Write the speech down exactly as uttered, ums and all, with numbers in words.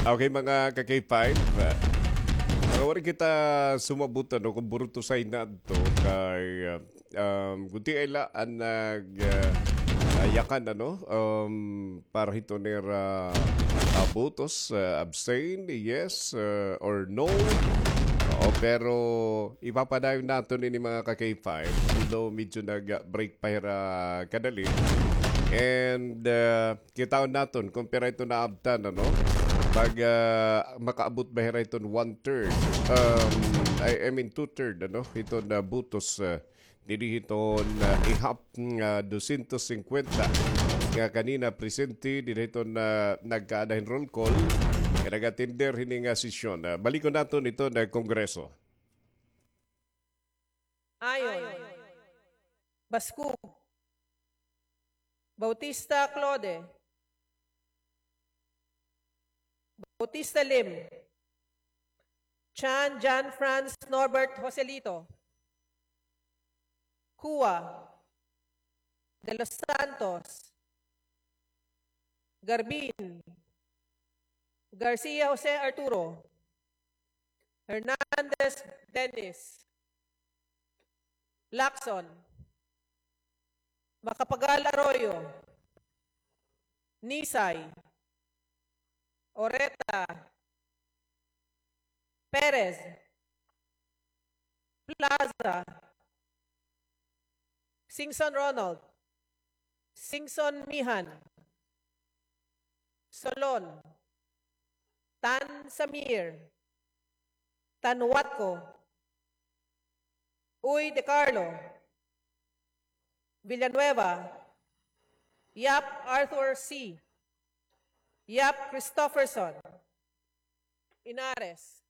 Okay, mga ka-K five, ah, mga wari kita sumabot, ano, kon burutusay na adto kay, ah, um, gutiay la an nag, ah, ah, yakan, ano, um, para hiton ira, ah, botos, ah, abstain, yes, ah, or no. Oo, pero ipapadayon naton ini, mga ka-K five, although medyo nag-break pa hira kadali. And, ah, kitaon naton kon pira ito naabtan, ano? Pag, ah, makaabot ba hira iton one-third? Um, I, I mean, two-third, ano? Iton, ah, botos, ah, didi hiton, ah, ihap nga dosyentos singkwenta nga kanina presente didi hiton, ah, nagkaada hin roll call nga nag-attender hini nga sesyon. Ah, balikon naton iton, ah, Kongreso. Ayon. Bascug. Bautista Claude. Bautista Lim. Chan John Franz Norbert Joselito. Cua. De los Santos. Garbin. Garcia Jose Arturo. Hernandez Dennis. Lacson. Macapagal Arroyo. Nisay. Oreta. Perez. Plaza. Singson Ronald. Singson Mihan. Solon. Tan Samir. Tan Watco. Uy De Carlo. Villanueva. Yap Arthur C. Yap Christopherson. Inares.